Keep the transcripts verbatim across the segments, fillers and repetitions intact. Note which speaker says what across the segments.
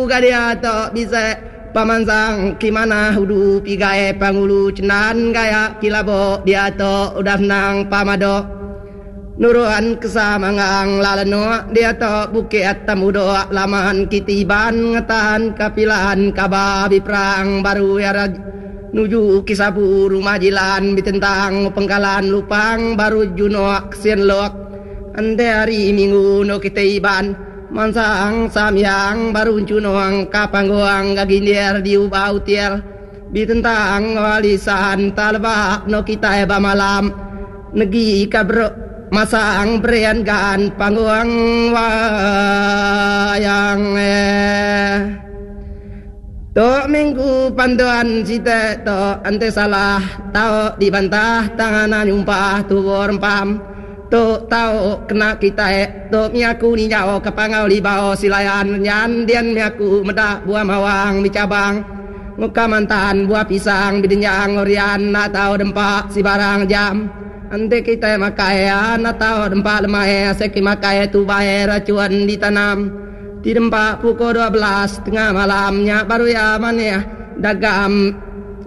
Speaker 1: Ga diatu bisi pemansang ki manah udu pigai Pangulu Chendan gaya ki labo diatu udah menang pamado nurun kesa manggang lalenok diatu bukit temudok laman kiti Iban ngetan ka pilan kaba biprang baru iya nuju ki sabu rumah jilan bitentang pengkalan lupang baru junok sin lok enti hari minggu endo kitai Iban mansang samyang baru enchunong ka panggung ga gindir di uba util bitentang walisan taleba endo kitai ba malam negi ka masang berian gan panggung wayang. Tu minggu panduan siti tu enti salah tau dibantah tang anak nyumpah tubuh rempam tu tau kena kitai tu miaku ninjau ke Panggau Libau Silayan Renyan dian miaku meda buah mawang bichabang muka mantan buah pisang bidenjang orian enda tau dempa sibarang jam enti kitai makai enda tau dempa lemai asai ke makai tubai rachun ditanam. Ti dempa pukul dua belas tengah malam nya baru iya manih dagam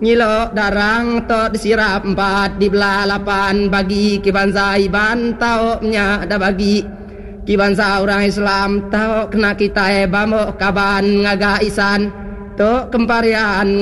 Speaker 1: nyilo darang to disirap empat dibelah lapan bagi ki bansa Iban tau nya da bagi ki bansa orang Islam tau kena kitai bamok kaban ngaga isan to kemparian.